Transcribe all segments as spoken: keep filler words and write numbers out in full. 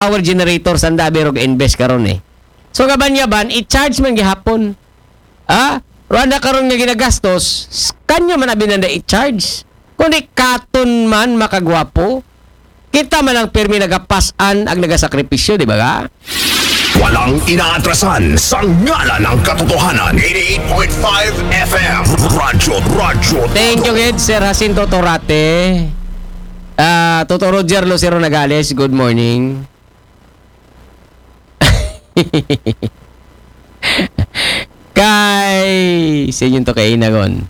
power generator sanda abi rog invest karon eh. So kaban-yaban, i-charge man gihapon. Ah, Rwanda karon nga ginagastos, s-, kanyo man abi nanda i-charge. Kundi katon man makagwapo, kita man ang pirmi nagapasan ag nagasakripisyo, di ba ka? Walang inaatrasan sa ngalan ng katotohanan. eighty-eight point five F M. Radyo, radyo. Thank you, gid, Sir Jacinto Torate. Ah, Toto Roger Lucero Nagales, good morning. Kay, sa inyo to kay Inagon.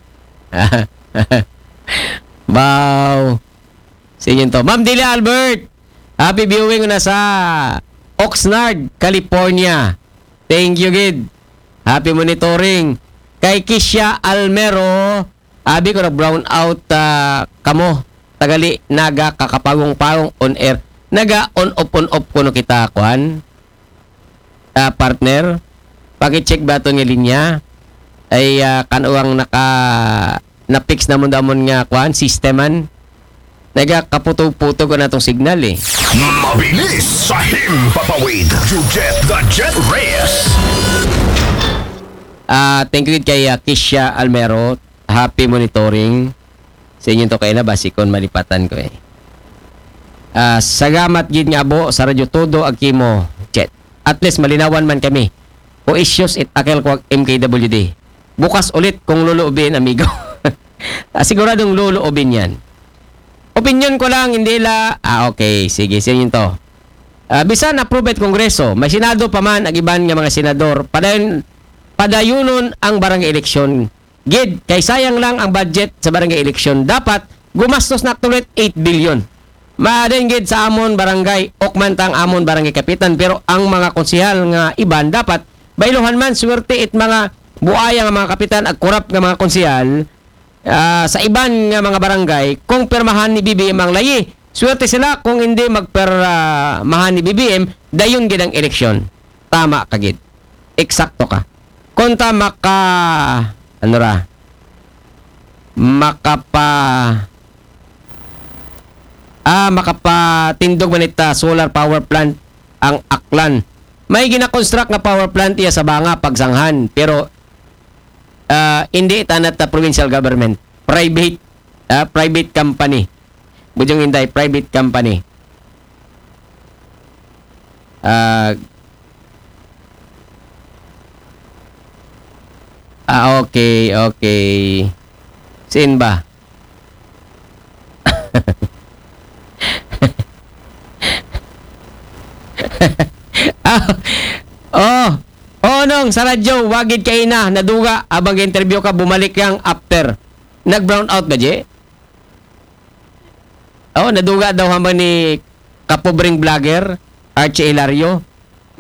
Wow. Sa inyo to. Ma'am Dila Albert, happy viewing na sa Oxnard, California. Thank you, gid. Happy monitoring. Kay Kisha Almero, abi ko na brown out ah, kamo. Tagali naga kakapagong-pagong on air. Naga on off on off kuno kita, kuan. Ah, partner. Paki-check ba to nga linya? Ay ah, kanuwang naka na-fix na mo damon nga kuan, system man. Naga kaputog-putog ko na tong signal eh. Mabilis sa himpapawid. You get the jet race. Ah, thank you kay ah, Kisha Almero. Happy monitoring. Sa inyo to kay na basikon malipatan ko eh. Ah, sagamat gid nga abo sa radyo todo ag kimo, Jet. At least malinawan man kami. O issues it akil ko ag M K W D. Bukas ulit kung luluubin, amigo. Ah, siguradong luluubin yan. Opinion ko lang, hindi la... Ah, okay. Sige, sa inyo to. Ah, bisan approve it Kongreso, may Senado pa man ag iban nga mga senador, padayon, padayunon ang barangay eleksyon. Gid, kay sayang lang ang budget sa barangay eleksyon. Dapat gumastos na tulit eight billion. Maadin gid sa amon barangay, ukman tang amon barangay kapitan, pero ang mga konsehal nga iban dapat bailohan man, swerte it mga buaya nga mga kapitan ag korap nga mga konsehal ah, sa iban nga mga barangay kung pirmahan ni B B M ang layi. Swerte sila kung hindi magpirmahan ni B B M, dayon gid ang eleksyon. Tama ka gid. Eksakto ka. Konta maka... Ano ra? Makapa... Ah, makapatindog man ita solar power plant ang Aklan. May ginakonstruct nga power plant iya sa Banga, Pagsanghan, pero ah, hindi tanat ta provincial government. Private, ah, private company. Bujong Inday, private company. Ah, ah, okay, okay. Sin ba? Ah, oh, oh, nong, sa radyo, wagid kay na, naduga, abang interview ka, bumalik yang after. Nag-brown out ba, G? Oh, naduga daw hambang ni kapobreng vlogger, Archie Hilario.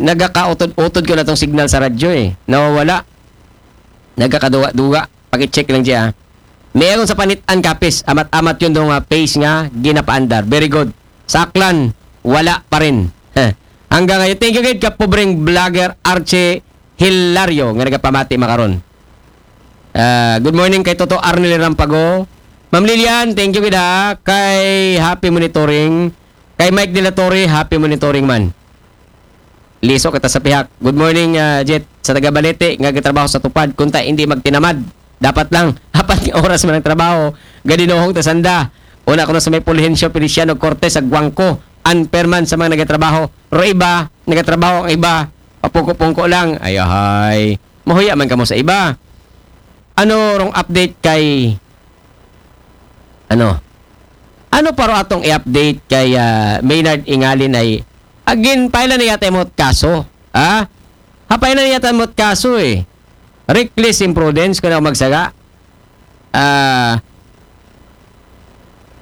Nagakautod-utod ko na tong signal sa radyo eh. Nawawala. Nagakaduga-duga. Paki-check lang siya. Meron sa Panitan, Capiz, amat-amat yun dong ah, phase nga ginapaandar. Very good. Sa Aklan, wala pa rin. Heh. Hanggang ngayon, thank you gid ka pobreng vlogger Archie Hilario nga nagapamati makaron. Ah, good morning kay Toto Arnel Rampago. Ma'am Lilian, thank you gid ha. Kay happy monitoring. Kay Mike de la Torre, happy monitoring man. Liso kita sa pihak. Good morning, ah, Jet. Sa taga Balete, nga gatrabaho sa tupad, kunta hindi magtinamad. Dapat lang, apat nga oras man ang trabaho. Gadinuhong ta sanda. Una ko na sa may Fulgencio Feliciano Cortez sa Guangco. Unfair man sa mga nagatrabaho. Pero iba, nagatrabaho ang iba. Papungko-pungko lang. Ay, ahay. Mahuya man kamo sa iba. Ano rong update kay... Ano? Ano pa ro atong i-update kay ah, Maynard Ingalin ay agin paila na yata mo kaso? Ha? Hapay na yata mo kaso eh. Reckless imprudence kung ako magsaga. Ah,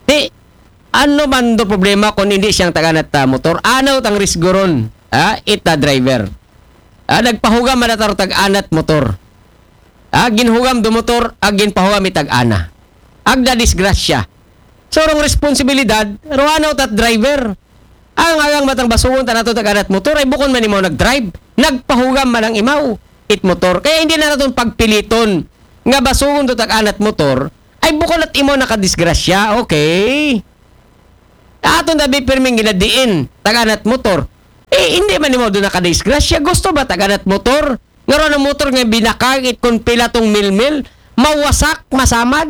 ti, ano man do problema kung hindi siyang taganat ta motor? Ano tang risgo ron? Ha? Ita driver. Ah, nagpahugam man taro tag-anat motor. Ah, ginhugam do motor, ag ginpahugam itag-ana. Agda disgrasya. So, rong responsibilidad, ruanaw tat driver. Ang agang matang basugon ta nato tag-anat motor, ay bukon man imaw nag-drive. Nagpahugam man ang imaw, it motor. Kaya hindi na naton pagpiliton nga basugon to tag-anat motor, ay bukon at imaw nakadisgrasya. Okay. Aton dabi pirming ginadiin, tag-anat motor. hindi man nimo doon nakadisgrasya. Gusto ba taganat motor? Nga ron ang motor nga binakag it kon pila tong milmil, mawasak, masamad.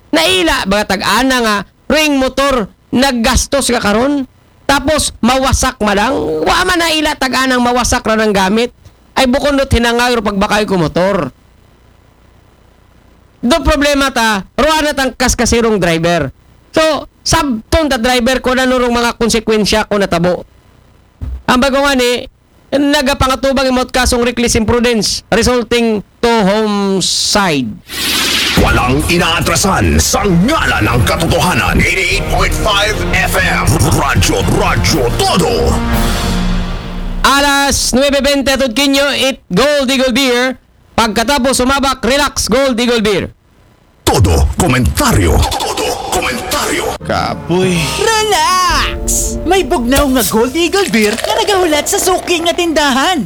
Naila ba tag-ana nga ring motor naggastos nga karon? Tapos mawasak man lang. Wa man naila tag-anang mawasak ra nang gamit. Ay bukon dot hinangag ro pagbakay ko motor. Do problema ta, ruwa na tang kaskasirong driver. So, sabton ta driver ko na nurong mga konsekwensya ko natabo. Ang bago nga ni, nagapangatubang imot kasong reckless imprudence resulting to homicide. Walang inaatrasan sa ngalan ng katotohanan. Eighty-eight point five F M. Radyo, Radyo Todo. Alas nuebe bente atod kinyo, it Gold Eagle Beer. Pagkatapos sumabak, relax, Gold Eagle Beer. Todo komentaryo. Todo komentaryo. Kapoy. Relax! May bugnaw nga Gold Eagle Beer na nagahulat sa suki nga tindahan.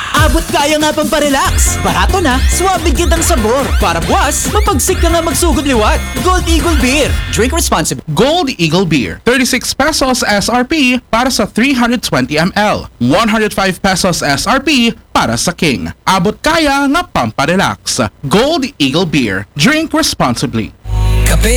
Abot kaya nga pamparelax. Barato na, swabe gyud ang sabor. Para buwas, mapagsik ka nga magsugod liwat. Gold Eagle Beer. Drink responsibly. Gold Eagle Beer, thirty-six pesos S R P para sa three hundred twenty M L, one hundred five pesos S R P para sa King. Abot kaya nga pamparelax. Gold Eagle Beer. Drink responsibly. Kape